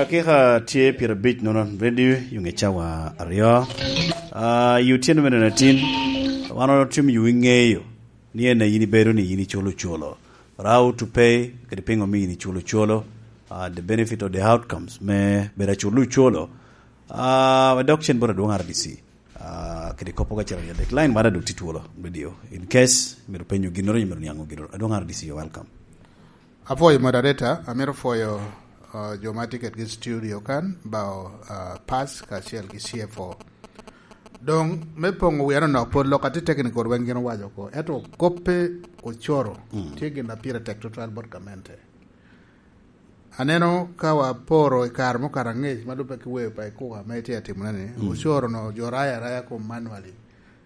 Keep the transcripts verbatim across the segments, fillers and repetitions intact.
Dakika tye pyerabic nono, ready, yung i cawa aryo. Ah, i otyeno me nino atin, wan otimo yo iŋeyo ni en a yin ibedo ni yin iculo ocolo. But how to pay, kadi piŋo mi yin iculo ocolo, ah, the benefit of the outcomes me bedo aculo ocolo. Ah, wadok cen bot adwoŋ R D C. Ah, kede kop oga cito adek. Line mara dok tye twolo, radio. In case myero penyo ginnoro, myero niaŋ ginnoro. Adwoŋ R D C, you're welcome. Apwoyo moderator, amito pwoyo, ah, jo ma tye kedgi i studio kan, bao, ah, pass kacel ki C F O. Doŋ me poŋo wia nonok, pol lok atye technical weng gin owaco oko. Ento koppe ocoro, mm, tye gin a pire tek tutwal bot gamente. Aneno ka waporo i kare mukato angec ma lubbe ki weyo pa ikuka ame itye atimone ni, mm, ocoro no jo rayo araya kom manually.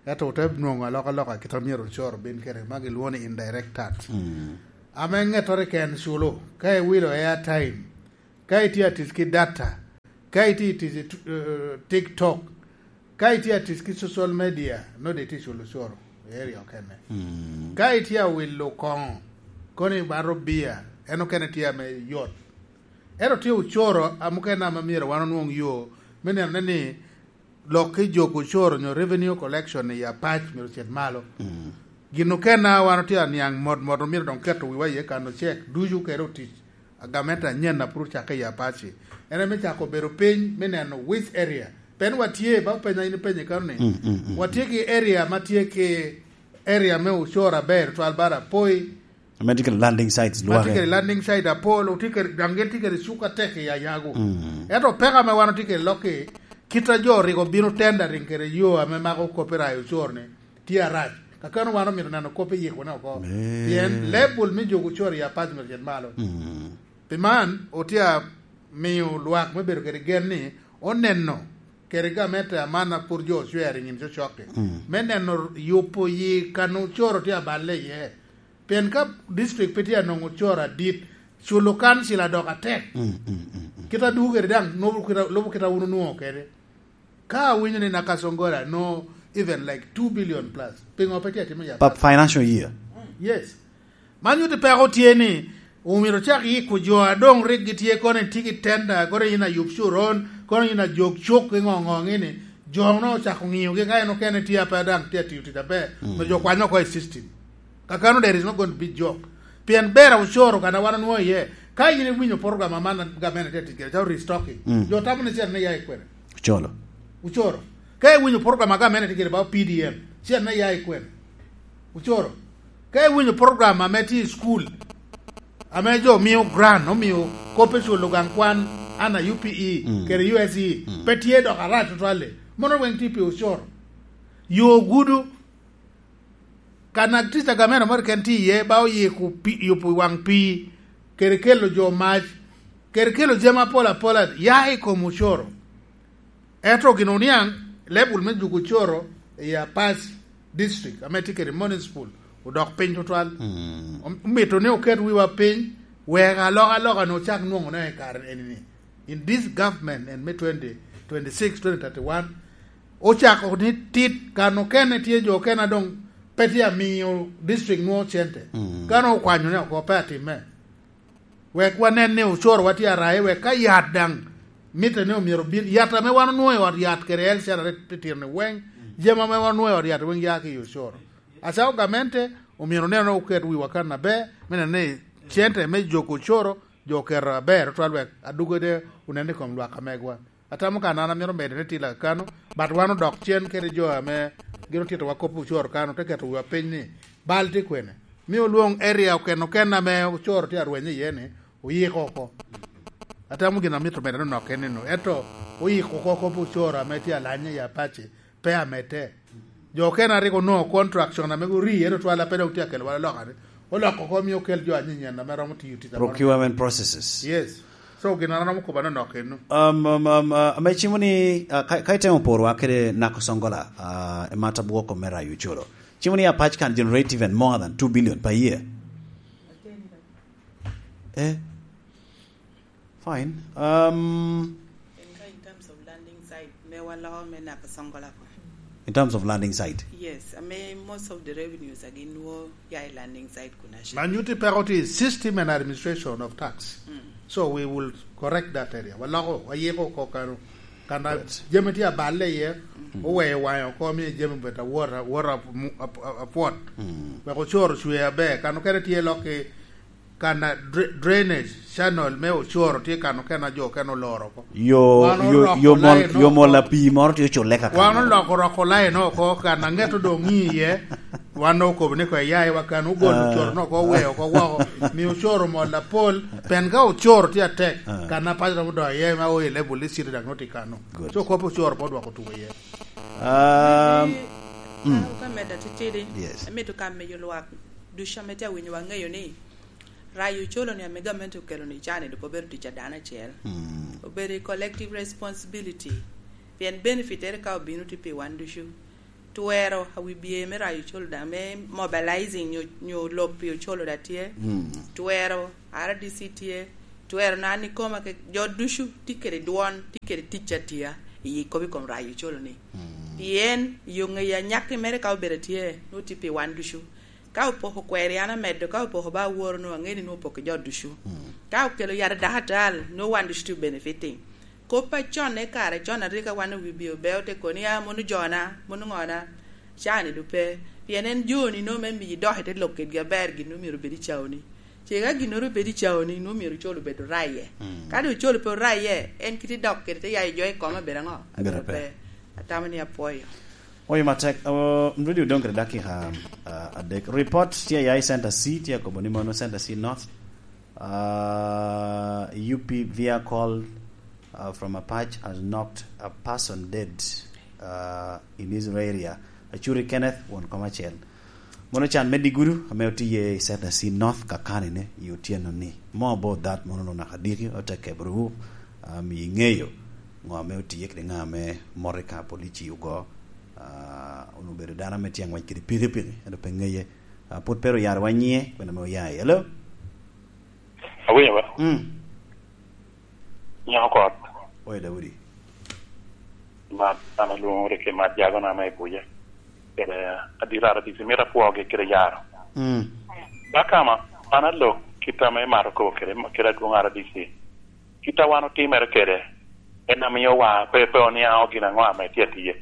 Ento ote nwoŋo alokaloka kit a myero ocoro bin kede ma gilwongo ni indirect tax. Mm. Ame ŋettoro keken culo, ka iwilo airtime, ka itye atic ki data, ka itye atic i tu-, eh, TikTok, ka itye atic ki social media, nongo itye culo ocoro i area okene. Mm. Ka itye awilo koŋo, kono ibato bia, en okene tye ame yot. Ento tye ocoro a mukene ame myero wan onwoŋ yo me nenone ni lok ki jok ocoro nyo revenue collection i Apac myero ocit malo. Mm. Gin okene a wan otye aniaŋ mot mot omyero doŋ keto wiwa iye kano cek ducu kede otic a gamente anyen a pud ocakke i Apac-ci. En ame cako bedo piny me neno which area. Pien watye, ba openya in ipenye kano ni, mm, mm, mm, watye ki area ma tye ki area me ocoro aber twal bara poi. Ame tye kede landing sites ma tye lwake. Kede landing site apol, otye kede, daŋ gin tye kede cuk atek i Anyago. Mm. Ento peko ame wan otye kede lokki, kit a jo rik obino tendering kede yo ame mako copyright ocoro ni, tye arac. Kakano wan omito neno kop iyikone oko. Eh. Pien level me jogo ocoro i Apac myero ocit malo. Mm. Pi man, otye amiyo lwak me bedo kede gen ni oneno kede gamente aman a pur jo ocwero i nyin cocokke. Mm. Me neno yubo yi kan ocoro tye aballe iye. Pien ka district pe tye anongo ocoro adit, culo kancil adok atek. Mm, mm, mm, mm. Kit a dwogo kede daŋ, lubo kit a, lubo kit a wun onwoŋo kede. Ka awinyo ni Nakasongola no even like two billion plus, piŋo pe tye atimo ya? Pa financial year. Yes. Man nyuto peko tye ni omyero ocak yiko jo a doŋ rik gitye kono itye ki tenda, kono in ayub curon, kono in ajok cuk i ŋo ŋo ŋini, jo no ocako ŋiyogi ka en okene tye ape daŋ tye atiyo tic aber, mm, onyo jo kwanyo oko i system. Kakano there is not going to be joke. Pien ber ocoro kan a wan onwoŋo iye. Ka in iwinyo program aman gamente tye tic kede, calo restocking, mm, jo tamo ni cene ne ya i kwene? Ocoro. Ocoro. Ka iwinyo program a gamente tye kede ba P D M, cene ne ya i kwene? Ocoro. Ka iwinyo program ame tye i school, ame jo mio grant, omio kop i culo gang kwan, ana U P E, mm, kede U S E, mm, pe tye dok arac tutwal-li. Mono weng tye pi ocoro. Yo gudo, kan activities a gamente moro keken tye iye, ba oyiko pi-, yubo waŋ pii, kede kelo jo mac, kede kelo jami apol apola ya i kom ocoro. Ento gin oniaŋ, level me juko ocoro i Apac District, ame tye kede municipal, odok piny tutwal. Mm. Om-, omito ni oket wiwa piny, wek alokaloka ni ocak nwoŋone i kare eni ni. In this government, en me twenty twenty-six, twenty thirty-one, ocako ni tit, kan okene tye jo okene a doŋ pe tye amiyo district nwoŋo cente. Mm. Kan okwanyone oko, pe atimme. Wek wanen ni ocoro wa tye araye, wek ka yat daŋ mitte ni omyero bin, yat ame wan onwoŋo i ot yat kede L C R rik titino ni weng, jami ame wan onwoŋo i ot yat weng ya ki i ocoro. Acalo gamente, omyero onen ni oket wiwa kan aber, me neno ni cente me joko ocoro, jo oketo aber tutwal wek adugede onen i kom lwak amegwa. Atamo kan an amito medo ni tila kano, but wan odok cen kede jo ame gin otitowa kop ocoro kano, te keto wiwa piny ni, bal tye kwene? Mi olwoŋ area oken oken ame ocoro tye arwenye iye ni, oyiko oko. Atamo gin amito medo ni nok en eno, ento oyiko oko kop ocoro ame tye alanye i Apaci, pe amedde. Jo okene a rik onwoŋo contraction ame guri, ento twala pe dok tye akelo wala loka ni, oloko oko, mio okel jo anyinyen ame romo tiyo tic a mono. Procurement processes. Yes. So, gin an aromo kobo anonok enno. Um, um, um, uh, ame cimo ni, uh, ka, ka itemo porowa kede Nakosongola, uh, e mata bwoko me rayo ocolo. Cimo ni Apac can generate even more than two billion per year. Eh? Fine. Um, En ka in terms of landing site, me waloko me Nakasongola ko. In terms of landing site. Yes, I mean, most of the revenues are in wo ya i landing site kuna shi. Man yuti peko ti system and administration of tax. Mm. So we will correct that area. Waloko, wayiko ko kano. Kana jami ti aballe ye, mm, owe wanyo ko mi jami bet awor, awor ap-, mu-, ap-, ap-, apwot. Mm. Wek ocoro cwe aber. Kano kene tye lok i kana dra-, drainage channel me ocoro tye kano kena jo kena oloro oko. Yo, wan yo, oloko yo mol, line yo mol oko. Apii moro tye ocule ka wan kano. Oloko roko line oko, kana ngeto dong ŋi iye, wan okobo ni ko eya i wa kano, ogolo, ah, ocoro no oko, oweo oko woko, mi ocoro mol apol, pen ka ocoro tye atek, ah, kana paco romo dok iye, ma o i level ni city dak noti kano. Good. So kop ocoro po dwoko tuko iye. Um, mm. Ka, ka medda titidi, yes, amito ka meyo lwak ducu ame tye awinywa ŋeyo ni rayo ocolo-ni ame gamente okelo-ni can-ni dok obedo tic a dano acel. Mm. Obedo i collective responsibility. Pien benefit ere ka obino tye pi wan ducu. Twero a wi bye me rayo ocolo daŋ, me mobilizing nyo, nyo lok pi ocolo daŋ tye. Mm. Twero R D C tye. Twero na an ikoma ke jo ducu tye kede dwon, tye kede tic atia i kop i kom rayo ocolo-ni. Mm. Pien yo ŋeyo anyakki mere ka obedo atye, nwoŋo tye pi wan ducu. Ka opoko kweri an amedo, ka opoko ba aworo, nwoŋo aŋeo ni nwoŋo opoko i jo ducu. Mm. Ka okelo yat adakatal, nwoŋo wan ducu tye benefiting. Kop acon i kare con a rik wan owi bye obeo te kono ni, "Ah, mono jona, mono ŋona." Can-ni doŋ pe. Pien en joni nwoŋo me miyi idok i te lok kedgi aber gin nwoŋo myero obed i caoni. Ce ka ginnoro obed i caoni, nwoŋo myero ocol obed oraye. Mm. Ka doŋ ocol pe oraye, en kite dok kede te yayo jo i kome obedo aŋo? Obedo pe. Atamo ni apwoyo. Oyo matek, uh, mrudi odoŋ kede dakika, uh, adek. Report tye ya i Center C, tye akobo ni mono Center C North. Uh, U P vehicle, uh, from Apac has knocked a person dead, uh, in his area. Achuri Kenneth, won kom acel. Mono can me Digudu, ame otiye i Center C North kakani-ni, i otyeno-ni. More about that, mono onaka diki, ote kebrewu, um, i ŋeyo ŋo ame otiye kede ŋa ame moto i ka polici ogo. Uh, onwoŋo obedo dano ame tye aŋwec kede pikipiki, ento pe ŋeye. Uh, pwod pe ru yaro wa nyiŋe, kwena ame oya i. Hello? Awinyo ba? Mm. Nyako kot. Oye Daudi. Mat, an alwoŋo Ricky Mat Jago na me Abuja. Kede adit R D C, mito apwogi kede yaro. Mm. Ba kama, an alok kit ame imato kobo kede, kede adwoŋ R D C. Kit a wan otimere kede, en amiyo wa pe, pe oniaŋo gin aŋo ame tye atiye.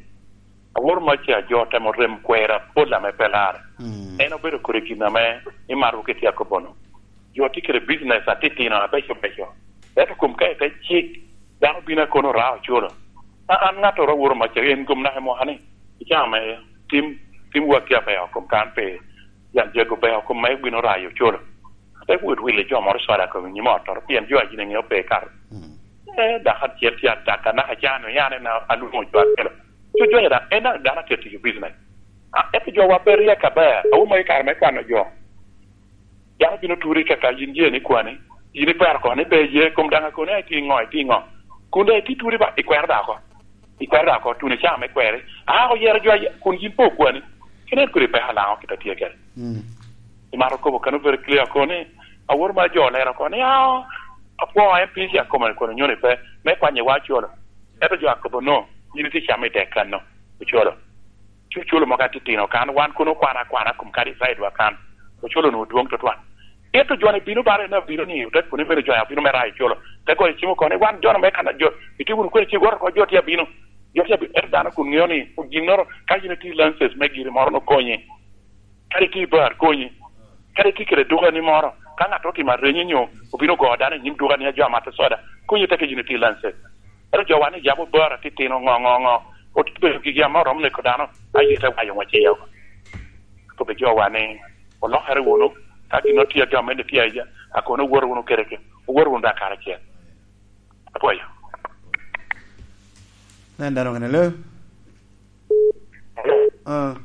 Awor mac a jo temo rem kwera pol ame pe lar. Mm. En obedo kodi gin ame imato ki tye akobo-nu. Jo tye kede business atitino abeco beco. Ento kom ka ite cik, dano bino akono ra ocolo. A-, an ŋattoro awor mac a en gom naka i mwaka ni, i caa me tim, tim waki abeco kom kan pe yan jago beco kom me bino rayo ocolo. Ate wot wille jo moro coda kom i nyim ottoro, pien jo a gin eŋeo pe kato. Mm. Eh, dako acel tye ataka, naka caa-nu, yan en a-, alwoŋo jo akelo. Cu jo daŋ, en daŋ dano atye tiyo business. A, ento jo wa pe ryek aber, awuma i kare me kwano jo. Dano bino turi kaka yin ye ni kwani, yin ikwero kono ni pe ye, kom daŋ akoni, "Ai, ti ŋo, ti ŋo?" Kun daŋ iti turi ba, ikwero daŋ oko. Ikwero daŋ oko, tuno i caa me kweri. A, oyero jo aye, kun yin pe okwani. Kene en kodi peko laŋo kit a tye kede. Mm. Imato kobo kano very clear kono ni, awor ma jo olero kono ni, "Ah, apwoo M P C akoma ni kono nyoni pe, me kwanye wa ocolo." Ento jo akobo no, yin itye camo i dek kano, ocolo. Cu ocolo mogo atitino kan, wan kono okwana akwana kom kadi side wa kan. Ocolo onwoŋo dwoŋ tutwal. Ento jo-ni bino bare na bino ni, ote kono ni bene jo abino me rayo ocolo. Te goyo cim oko ni, "Wan jo-nu me kan jo, itye wunu kwene ci iwoto oko, jo tye abino." Jo tye abino, ento dano kun ŋeo ni, ginnoro, ka yin itye i license me giri moro, no konyi. Kadi itye i bar, konyi. Kadi itye kede dukani moro, ka ŋat otimo arenyo nyo obino ogo dano i nyim dukani a jo amato soda, konyi te ka yin itye i license. Ento jo wan ni yabo bar atitino, ŋo, ŋo, ŋo, obedo gigi ame oromo neko dano, aye te wayo ŋwec iye oko. Kobbe jo wan ni, "Olokere wunu, ka gin otye a jo ame tye aye, akono owoto wunu kede ke, owoto wunu daŋ karacel." Apwoyo. Nen dano kene lo. Ah.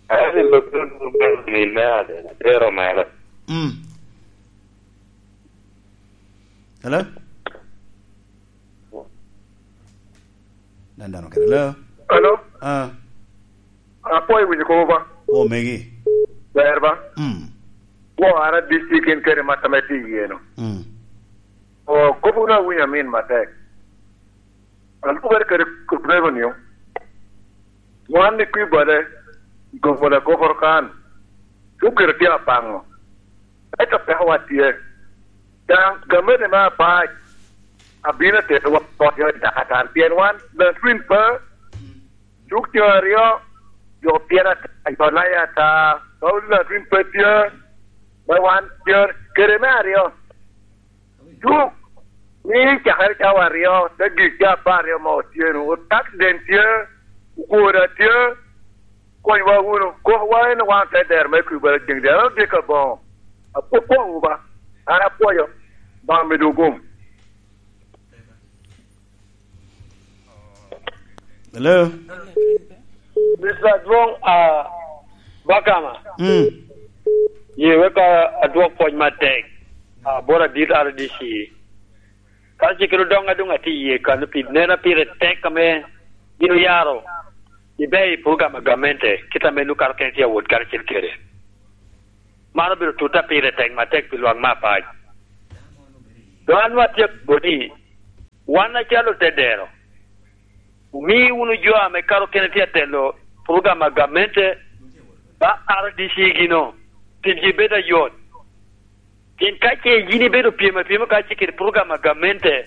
Eni lok ni me ade, atero mere. Mm. Hello? Nen dano kene. Hello? Hello? Ah. Apwoyo winyo kobo ba. O megi. Ber ba. Mm. Wo R D C kin kede mat ame tye iye no. Mm. O, kobo na winyo amin matek. An kubere kede revenue. Wan i Kwibale, i Gombola Kokoro kan, cukere tye apaŋo, ento pekowa tye. Daŋ gamente me apac abino terowa poto i Dakatan, pien wan Latwin pe, cuk tye aryo, jo pyen ata, jo laya ata, Paulo Latwin pe tye, me wan tye kede me aryo. Cuk, ni cakere cawa aryo, te gik ca apar aryo ma otyeno, otak den tye, okwoda tye, konywa wunu, kokowa en wan te dero me Kwibale ceŋ dero, dye ka boŋo. Apwopwowu ba, an apwoyo, Obaŋa medo gum. Hello? Mister Adwoŋ, ah, Bakama. Mm. Ye wek adwok pwoc matek. Ah, bor adit R D C. Ka cikere odoŋ adoŋ atye iye kano pi nena pire tek ame gin oyaro ibe i program a gamente, kit ame nwoŋo kato kene tye awot karacel kede. Man obedo tutta pire tek matek pi lwak me apac. Dok an nwoŋo atye bot ni, wan acalo tedero, omi wunu jo ame kato kene tye atelo program a gamente ba R D C gino, timgi bed ayot. Pien ka ce yin ibedo pyem apyema ka ce kede program a gamente,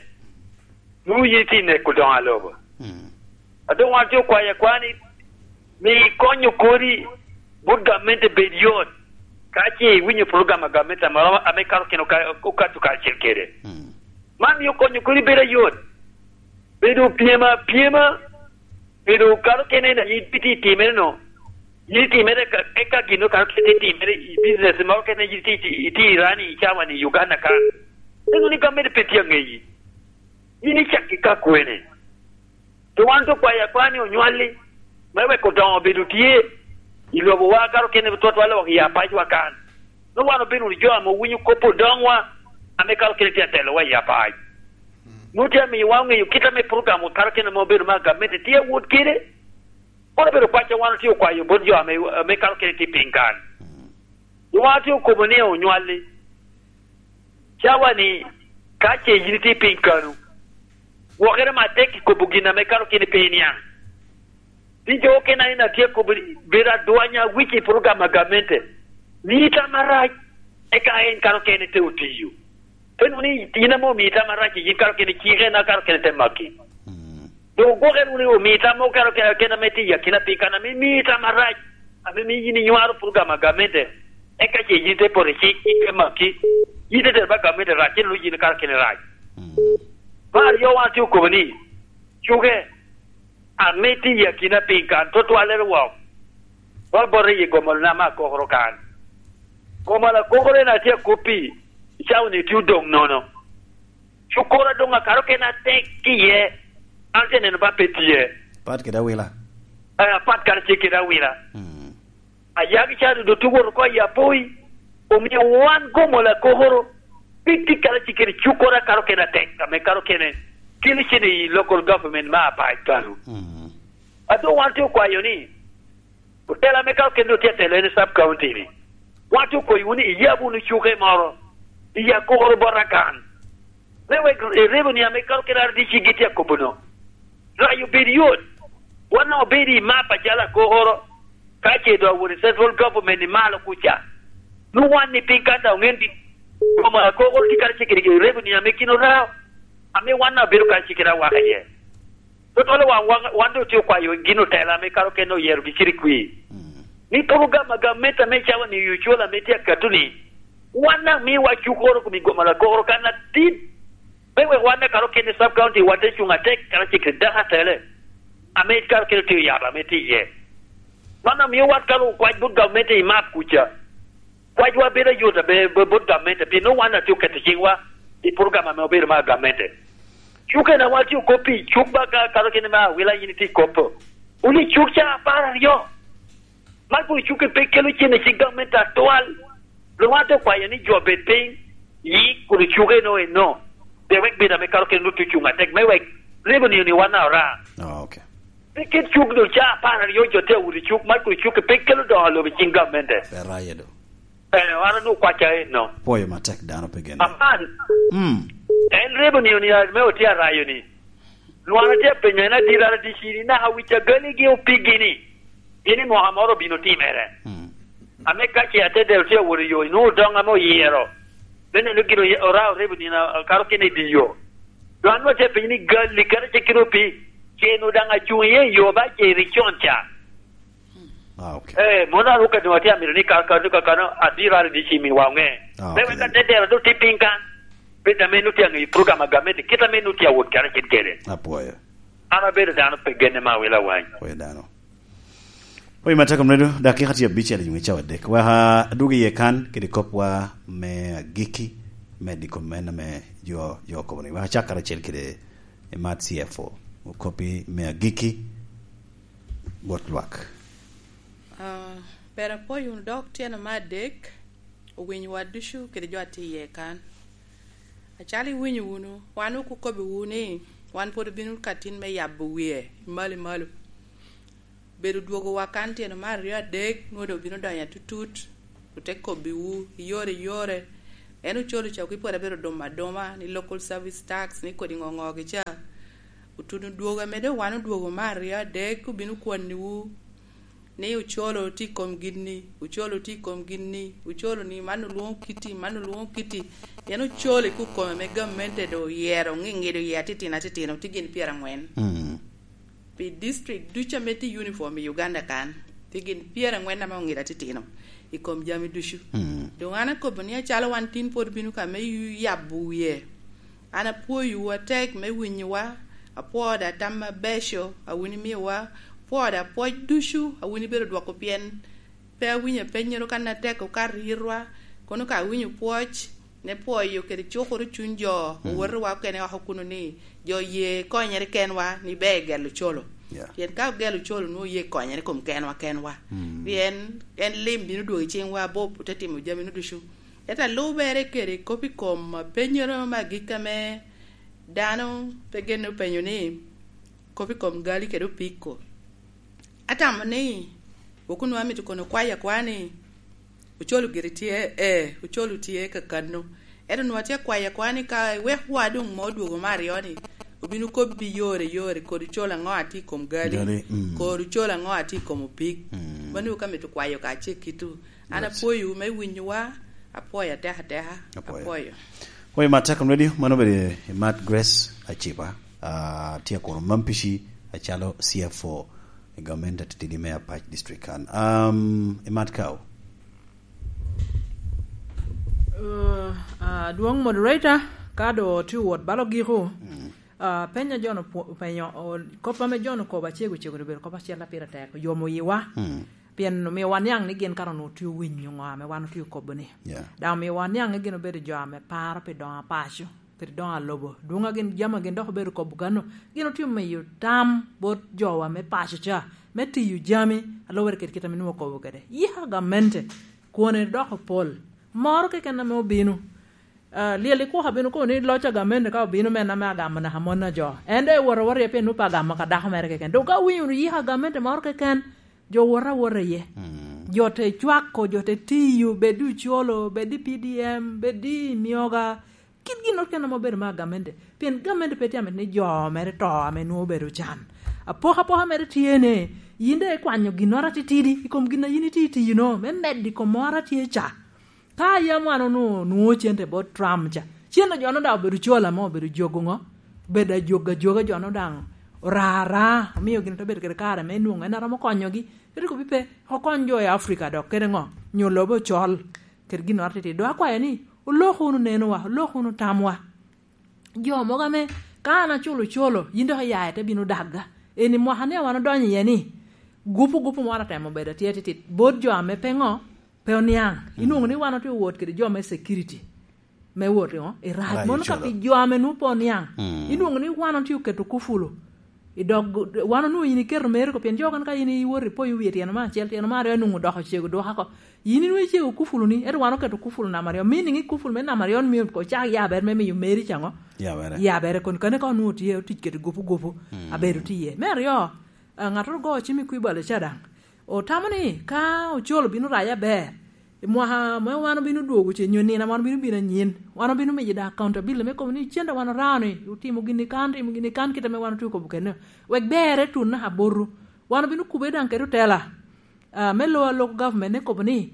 nwoŋo yin itye neko doŋo a lobo. Mm. A doŋ wan tye okwayo akwa ni, mi ikonyo kodi bot gamente bed yot, ka ce iwinyo program a gamente ame, ame kato kene oka-, okato kacel kede. Mm. Man mio konyo kodi bedo ayot. Bedo pyem apyema, bedo kano kene na yin itye itimere no. Yin itimere ka, eka gin okato kene itimere i business moro kene yin itye, itye, itye i rani i cawa ni Uganda kan. Eno ni gamente pe tye aŋeyi. Yin icakki ka kwene? To wan to kwayo akwa ni onywalli, me wek odoŋo obedo tye i lobowa kato kene twatwal wok i apacwa kan. Nwoŋo wan obedo wunu jo ame owinyo kop odoŋwa, ame kato kene tye atelowa i apac. Nwoŋo tye amiyowa oŋeyo kit ame program okato kene ame obedo me gamente tye awot kede. Kono obedo kwacca wan otye okwayo bot jo ame, ame kato kene tye piny kan. Nwoŋo wan otye okobo ni onywalli. Cawa ni, ka ce yin itye piny kanu, gwokere matek i kobo gin ame kato kene pe iniaŋ. Tye jo okene a en atye akobo ni, bedo adwanya wic i program a gamente. Mii tam arac, eka en kato kene te otiyo. Pe nwoŋo ni yin ame omii tam arac, yin kato kene cike na kato kene te maki. Mm. Doŋ ogwoke wunu ni omii tam mo kato kene, kene ame tye i akina piny kan, ame mii tam arac, ame mii yin inywaro program a gamente. Eka ce yin te poto i cik, cik te maki. Yin te tero ba gamente rac, yin onwoŋo yin kato kene rac. Mm. Me aryo wan tye okobo ni, cuke, ame tye i akina piny kan, twatwalere wok. Bot, bot i Gomol na me Akokoro kan. Gomol Akokoro en atye akoppi, i cawa ni tye odoŋ nono. Cukoro doŋ akato kene atek ki iye, an te neno ba pe tye. Pat kede awila. Eh, apat karacel kede awila. Mm. Ayaki ca dodo tye wot oko i Apoi, omio wan Gomol Akokoro, pe tye karacel kede cukoro akato kene atek, ame kato kene kelo cene i local government me apac kano. Mm. A doŋ wan tye okwayo ni, otela ame kato kene doŋ tye atelo en sub county ni, wan tye okoyiwu ni iyab wunu cuke moro, i Akokoro bot Akan. Me wek i revenue ame kato kede R D C gitye akobo no, rac obed yot. Wan daŋ obedo i map acalo Akokoro, ka ce doŋ awot i central government i malo kuca. Nwoŋo wan ni piny kan daŋ oŋen di, koma Akokoro tye karacel kede revenue ame kin orao, ame wan daŋ obedo karacel kede awaka iye. Totolo wan, wan, wan doŋ tye okwayo gin otela ame kato kene oyero giciro i kwir. Mm. Ni program a gamente ame cawa ni ocola ame tye akato ni, wan daŋ miwa cukoro kom i Gomol Akokoro kan atit. Me wek wan akato kene sub county wan te cuŋ atek karacel kede dako atele. Ame kato kene tye oyabo ame tye iye. Man omio wan kalo okwac bot gamente i map kuca. Kwacwa bedo ayot abe-, be-, bot gamente, pien nwoŋo wan atye oketo ciŋwa i program ame obedo mar gamente. Cuk en a wan tye okop pi cuk ba ka, kato kene me awila yin itye ikoppo. Wun i cuk ca apar aryo. Man kun cuk pe kelo cen i cik gamente atwal. Luŋ wan te kwayo ni jo bed piny, yik kun cuk eno eno. De wek bed ame kato kene nwoŋo tye cuŋ atek, me wek revenue ni wan a ora. Ah, ok. Pe ket cuk doŋ ca apar aryo jo tye awot i cuk, man kun cuk pe kelo doŋo lobo i cik gamente. Pe raye do. Eh, an onwoŋo kwacca eno. Pwoyo matek dano pe genne. Aman. Mm. En revenue ni me otye arayo ni. Lwak atye apenyo en adit, an atye cini, naka wic agali gi opigi ni. Pien i mwaka moro obino timere. Mm. Ame ka ce atedero tye awot i yo, inwoŋo doŋ ame oyero. Me neno gin oye-, orao revenue na, karo kene i dye yo. Doŋ an nwoŋo atye apenyo ni, gali kara ce kite opi, ce nu daŋ acuŋ iye i yo ba ce iri con ca? Ah, ok. Eh, mono an okaddi atye amito ni ka, ka, ka, kano abiro ara di ci mi wa oŋe. Ah, me ok. Wek atedero do tye piny kan. Piny ame nu tye aŋeyo program a gamente, kit ame nu tye awot kara cen kede. Apwoyo. An abedo dano pe genne ma awilo awany. Apwoyo dano. Oyo, matek omredo, dakika tye abicel i nyo cawa adek. Wek adwog iye kan kede kopwa me agikki, me diko men ame jo, jo okobo ni. Wek acak karacel kede Imat C F O, okoppi me agikki, bot lwak. Ah, pero apwoyo wunu dok tyeno me adek, owinyowa ducu kede jo a tye iye kan. Acalo iwinyo wunu, wan okukobbiwu ni wan pwod obino ka tin me yabo wie i malo i malo. Bedo dwogowa kan tyeno me aryo adek, nwoŋo doŋ obino donyo atutut, ote kobbiwu i yore i yore. En ocolo ca okipwod abedo dumo aduma, ni local service tax, ni kodi ŋo ŋo gi ca. Otuno dwogo ame doŋ wan odwogo me aryo adek, obino kwonniwu ni ocolo tye i kom gin-ni, ocolo tye i kom gin-ni, ocolo ni man olwoŋo kiti, man olwoŋo kiti. Pien ocolo i kukome ame gamente doŋ oyero, ŋiŋido iye atitino atitino, tye gin pyeraŋwen. Mm. Pi district ducu ame tye uniform i Uganda kan, tye gin pyeraŋwen ame oŋido atitino i kom jami ducu. Mm. Doŋ an akobo ni acalo wan tin pwod bino ka me yu-, yabo wie. An apwoyowu atek me winyowa, apwoo da tam abeco a wun imiyowa, apwoo da pwoc ducu a wun ibedo dwoko pien pe awinyo apennyoro kan atek okato yitwa, kono ka awinyo pwoc, ne pwoyo kede cukoro cuny jo, mm, owotowa okene oko kuno ni, jo ye konyere kenwa ni ber gelo colo. Yeah. Pien ka ogelo colo, nwoŋo ye konyere kom kenwa kenwa. Mm. Pien en lim bino dwogo i ciŋwa abup, ote timo jaminu ducu. Ento alubere kede kop i kom apennyoro me agikki ame dano pe genne openyo ni, kop i kom gali kede opiko. Atamo ni, wok onwoŋo amito kono kwayo akwa ni, ocolo giri tye, ee, ocolo tye kakano. Ento onwoŋo atye akwayo akwa ni ka iwek wa doŋ mo odwogo me aryo-ni, obino kobbi yore yore, kodi ocolo aŋo atye i kom gali, gali, mm, kodi ocolo aŋo atye i kom opik. Mm. Mano ka mito kwayo ka ce kitu. An, yes, apwoyo me winyowa, apwoyo atek ateka, apwoyo, apwoyo. Apwoyo Matek Radio, mano obedo Imat Grace Aciba, ah, tye kono Mampici acalo C F O i gamente atitidi me Apac District kan. Um, Imat Kao. Uh, ah, dwong moderator, ka do tye wot balo giko, mm, ah, penya John opu-, openyo, o-, kop ame John okobo acego cego obedo kop acel a pire tek, oyomo yiwa. Mm. Pien omio waniaŋ ni gin kara onwoŋo tye owinyo ŋo ame wan otye okobo ni. Yeah. Daŋ omio waniaŋ ni gin obedo jo ame paro pi doŋo a paco, pi doŋo a lobo. Dwoŋ a gin, jami a gin dok obedo kobo kano, gin otye omiyo tam bot jowa me paco ca, me tiyo jami, a lubere kede kit ame nwoŋo okobo kede. Yika gamente, kwone dok opol. Moro keken ame obino. Ah, lyel i kwok abino kono ni loc a gamente ka obino, men ame agamo naka mon a jo. En doŋ ewot awot iye pien nwoŋo pe agamo ka dako mere keken. Dok ka winyo wunu yika gamente moro keken, jo wot awota iye. Mm. Jo te cwako, jo te tiyo, bed i Ocolo, bed i P D M, bed i Myoga. Kit ginnoro kene ame obedo me agamente. Pien gamente pe tye amito ni jo mere to ame nwoŋo obedo can. Apokapoka mere tye ni, yin doŋ ikwanyo ginnoro atitidi i kom gin a yin itye itiyo-no, me medo i kom moro a tye ca. Ka yam wan onwoŋo, onwoŋo cente bot Trump ca, cente jo-nu daŋ obedo cola mo, obedo jogo ŋo? Obedo ajogo ajoga, jo-nu daŋ ora ara, omio gin te bedo kede kare me nwoŋo en a romo konyogi. Kadi kobbi pe, okony jo i Africa dok kede ŋo? Nyo lobo ocol, kede ginnoro atitidi. Dok akwayo ni, olok wunu nenowa, olok wunu tamwa. Jo mogo ame, ka an aculo colo, yin dok iya ite bino dagga. Eni mwaka ni a wan odonyo iye ni, gupu gupu moro atemo bedo atye titit bot jo ame pe ŋo, pe oniaŋ. Mm. Inwoŋo ni wan otye owot kede jo me security me wot i ŋo? I rac. Rac mono ka colo. Pi jo ame nwoŋo pe oniaŋ. Mm. Inwoŋo ni wan otye oketo kufulu. I dog, wan onwoŋo in iketo meri ko, pien jo kan ka in iwot ipoyo wie tyeno me acel, tyeno me aryo, nwoŋo dok ocego dwoka ko. Yin inwoŋo icego kufulu ni, ento wan oketo kufulu namba aryo. Meaning i kufulu me namba aryo ni myero ocak yabere me miyo meri ca ŋo? Yabere. Yabere kon kane ka onwoŋo tye otic kede gupu gupu, mm, abedo tye iye. Me aryo, ah, ŋattoro go cim i kwibalo ca daŋ. Otamo ni ka ocol obino rac aber, i mwaka ame wan obino dwogo ce, nyo nino ame wan obino bino anyin, wan obino miyo daŋ accountability me kobo ni cente wan orao ni, otimo gini kan, otimo gini kan, kit ame wan otye okobo kene. Wek berre tun naka boto. Wan obino kubbe daŋ kede otela. Ah, me lo a local government ne kobo ni,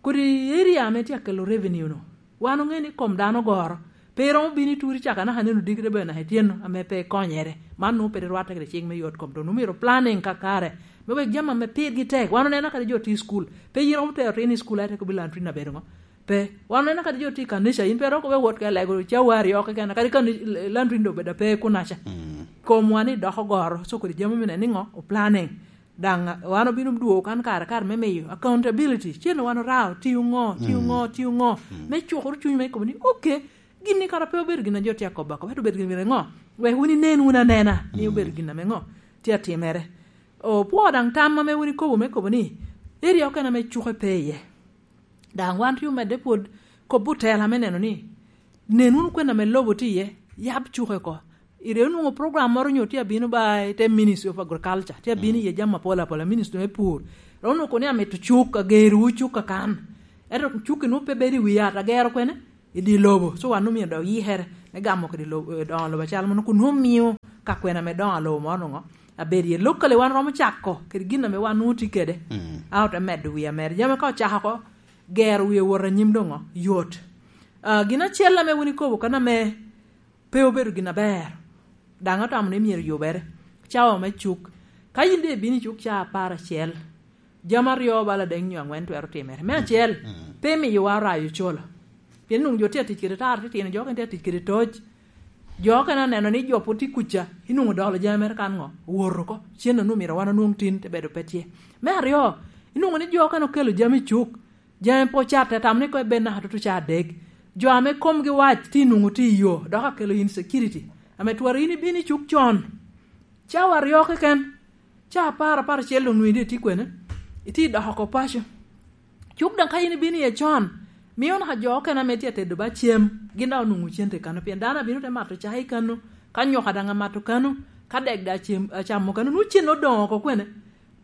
kodi area ame tye akelo revenue no, wan oŋe ni kom dano ogoro, pe romo bino i turi caka naka neno digre bene naka ityen no, ame pe ikonyere. Man nwoŋo pe rwatte kede cik me yot kom, dong omyero planning kakare, me wek jami ame pirgi tek. Wan oneno kadi jo tye i school, pe yin romo tero tin i school, aye te kobo ni Lantrin abedo ŋo? Pe. Wan oneno kadi jo tye i kanica, yin pe romo kobo wot ka lego cawa aryo keken, kadi kani Lantrin dong obedo pe kunaca. Mm. Komwa ni dok ogoro, so kodi jami me neno ni ŋo? O planning. Daŋ wan obino dwogo kan kare kare me miyo accountability. Cen wan orao, tiyo ŋo, tiyo Mm. ŋo, tiyo ŋo. Mm. Me cukoro cuny me kobo ni, "Ok, gin ni kara pe obedo gin a jo tye akobo akoba, ento obedo gin ŋo? Wek wun inen wun anena ni Mm. obedo gin ame ŋo tye atimere." Opwo daŋ tam ame wun ikobo me kobo ni, area okene ame cuke pe iye. Daŋ wan tye omedde pwod kobo otela me neno ni, nen wunu kwena ame lobo tye iye, yab cuke oko. Ire onwoŋo program moro onyo tye abino ba i te Ministry of Agriculture, tye abino Mm. iye jami apol apola, Ministry me pur. Dok onwoŋo kono ni amito cuk, agerowu cuk kakan. Ento cuk-ki nwoŋo pe bedo i wi yat, agero kwene? I dye lobo. So wan omio dok yikere me gamo kede lobo, eh, doŋo lobo acal mono, kun nwoŋo mio ka kwena me doŋo lobo moro nwoŋo abedo iye. Locally wan romo cako kede gin ame wan nwoŋo tye kede. Mm. A ote medo wi ameda. Jami ka ocako oko, gero wi wot anyim doŋo yot. Ah, gin acel ame wun ikobo kan ame pe obedo gin aber, daŋ atamo ni myero yubere. Cawa me cuk. Ka yin doŋ ibino i cuk ca apar acel, jami aryo bala adek nyo aŋwen twero timere. Me acel, Mm. pe imiyowa orayo ocolo. Pien nwoŋo jo tye atic kede tara titino, jo okene tye atic kede toc. Jo okene oneno ni jo pwod tye kuca, inwoŋo dolo jami mere kan ŋo? Owoto oko. Cen onwoŋo myero wan onwoŋ tin, te bedo pe tye. Me aryo, inwoŋo ni jo okene okelo jami i cuk, jami pe ocatte, tam ni koŋ ibed naka tutu ca adek. Jo ame komgi wac tye nwoŋo tye i yo, dok akelo insecurity. Ame twero yin ibino i cuk con. Cawa aryo keken, ca apar, apar acel doŋ nwoŋo itye kwene? Itye dok oko paco. Cuk daŋ ka yin ibino iye con, mio naka jo okene ame tye atedo ba cem, gin daŋ onwoŋo cente kano, pien dano abino te mato cai kano, ka nyoka daŋ amato kano, ka dek daŋ acem-, acamo kano, nwoŋo cen odoŋo oko kwene?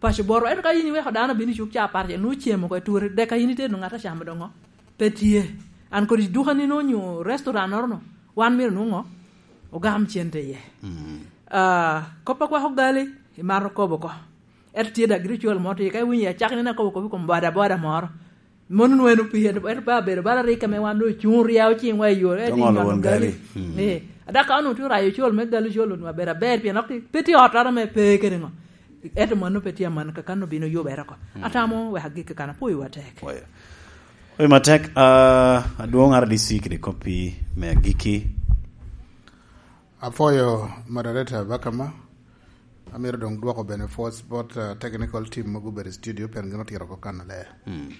Paco boro. Ento ka yin iweko dano bino i cuk ca apar acel, nwoŋo cem oko i turi, dek a yin itedo ŋat acamo doŋo pe tye. An kodi dukani no onyo restaurant-noro no, wan myero nwoŋo ogam cente iye. Mm. Ah, kop a kwako gali, imato kobo oko. Ento tye daŋ giri col mo tye, ka iwinyo i acakki nino akobo kop i kom boda boda moro. Mono nwoŋo en opii, ento, ento pe abedo bala rik ame wan doŋ ocuŋ ryao ciŋwa i yo, ento Doŋ olo inyonyo won gali. Gali. Mm. Eh, a dok ka onwoŋo tye orayo col me gali col onwoŋo abedo aber, pien dok pe tye ot ame pe kede ŋo. Ento mano pe tye aman, kakan obino yubere oko. Mm. Atamo wek agik kakan, apwoyowa tek. Oyo. Oyo matek, ah, adwoŋ R D C kede koppi me agikki. Apwoyo moderator Bakama. Amito doŋ dwoko bene force bot, ah, technical team mogo obedo i studio, pien gin otito oko kan aler. Mm.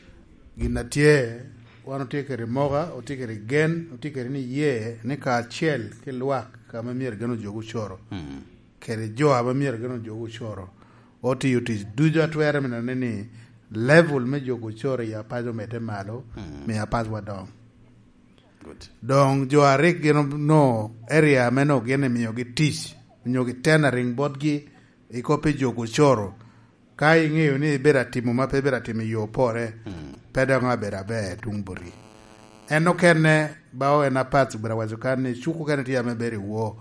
Gin a tye, wan otye kede moka, otye kede gen, otye kede niye ni kacel ki lwak ame myero gin ojogo ocoro. Mm. Kede jo ame myero gin ojogo ocoro, otiyo tic ducu a twere me neno ni level me jogo ocoro i Apac omedde malo, Mm. miyo Apac wa doŋ. Good. Doŋ jo a rik gin onwoŋo area ame onwoŋo gin imiogi tic, onyo gi tendering botgi i kop pi jogo ocoro, ka iŋeyo ni ibedo atimo ma pe ibedo atimo i yo pore, Mm. pe doŋ abedo aber tuŋ boti. En okene, bao en apath obedo awaco kan ni cuk okene tye ame bedo i wo.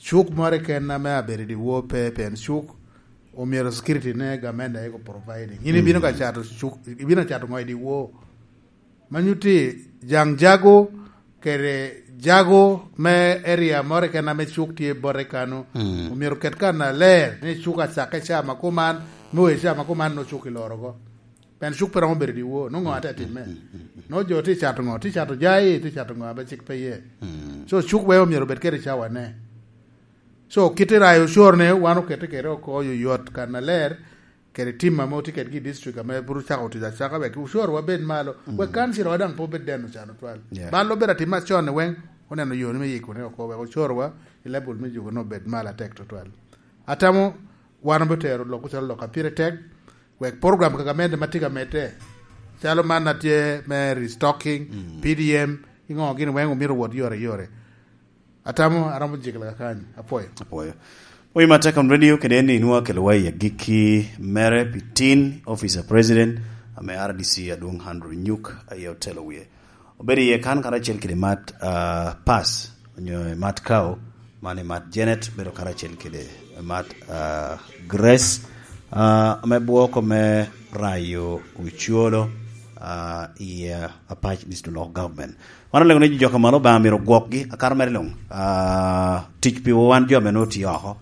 Cuk moro keken ame abedo i wo pe, pien cuk omyero security ne gamente aye ko providing. In ibino Mm. ka cato cuk, ibino cato ŋo i di wo? Ma nyutti jaŋ jago kede jago me area moro keken ame cuk tye bote kano, Mm. omyero ket kan aler ni cuk acakke ca ma kuman, me wee ca ma kuman no cuk iloro oko. Pien cuk pe romo bedo i di wo, nongo ŋo ate timme? Mm, mm, mm, mm. No jo tye cato ŋo? Tye cato jai, tye cato ŋo abe cik pe ye? Mm. So cuk wee omyero obed kede cawane. So kit i rayo ocoro ne, wan okete kede oko oyoyot kan aler, kede tim ame otye kedgi i district ame pud ocako tic acaka, wek ocoro wa bed malo, Mm. wek council wa daŋ pe obed deno can otwal. Yeah. Bal obedo atim acon ni weng, oneno yo ni me yiko ne oko, wek ocoro wa i level me juko ne obed malo atek tutwal. Atamo wan obitero lok ocalo lok a pire tek, wek program ka gamente ma tye ka medde, calo man a tye me restocking, Mm. P D M, i ŋo gin weng omito wot yore yore. Atamo aromo jikla kakany. Apwoyo. Apwoyo. Oyo matek on radio kede en ni inwa kelo wa i agikki mere pi tin officer president ame R D C adwong Andrew Nyuk aye otelo wie. Obedo iye kan karacel kede Mat, ah, Pass, onyo Mat Kao, man i Mat Janet, bedo karacel kede Mat, ah, Grace, Ah, me bwoko me rayo ocolo, ah, i, ah, Apac District Local Government. Wan olego ni jo ka malo Obaŋa myero gwokgi, akato mere luŋ. Ah, tic pi wan jo ame nwoŋo tye oko.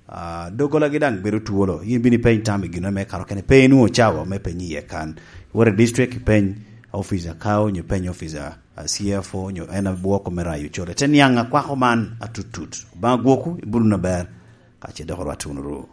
Ah, doggolagi daŋ bedo twolo. Yin bino ipeny tam i gino me kato kene. Pe inwoŋo cawa me penyi iye kan. Iwot i district ipeny officer kao, onyo ipeny officer, ah, C F O, onyo en abwoko me rayo ocolo. Te niaŋ akwako man atutut. Obaŋa gwokwu, ibulu na ber. Ka ce dok orwat wunu ru.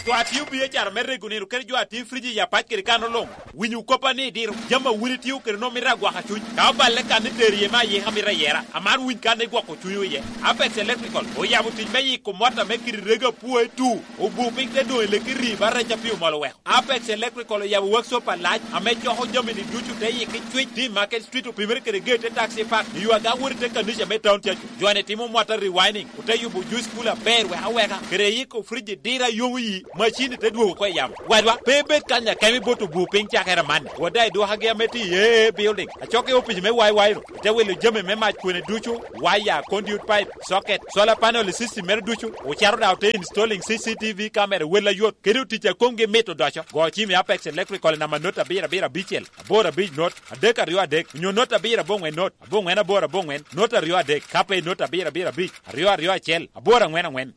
Jo a tio biacara me rego nino kede jo a tio friji i Apac kede kan oloŋ. Winyo koppa ni idiro. Jami a wun itio kede nwoŋo mito agwaka cuny. Ka oballe kan ni tero iye me ayika mito ayera. Amar winy kan ni gwoko cunywu iye. Apex Electrical oyabo tic me yiko mwata me kidi rego apwoe tu. Obu piny te doŋ i leki ri ba rec a pi omol oweko. Apex Electrical oyabo workshop alac ame coko jami ni ducu te yiki cwec ti Market Street opimere kede gate te taxi park. I yo aga wot i te kanica me town tye aco. Jo ane timo mwata rewinding. Ote yubo juice cooler aber wek aweka. Kede yiko friji dira yomo yi. Macini te dwogo oko i yamo. Wadwa, pe ibed kanya kemi bot obu piny cakere man. Wada i dwokagi ame tye i A A building. Acokke i opic me Y Y ro. Ite wilo jami me mac kwene ducu, waya, conduit pipe, socket, solar panel i system mere ducu. Ocaro daŋ ote installing C C T V camera wel ayot. Kede otic a komgi mit odoco. Go cim i Apex Electrical i namba not abiro abiro abicel, aboro abic not, adek aryo adek, onyo not abiro aboŋwen not, aboŋwen aboro aboŋwen, not aryo adek, ka pe i not abiro abiro abic, aryo aryo acel, aboro aŋwen aŋwen.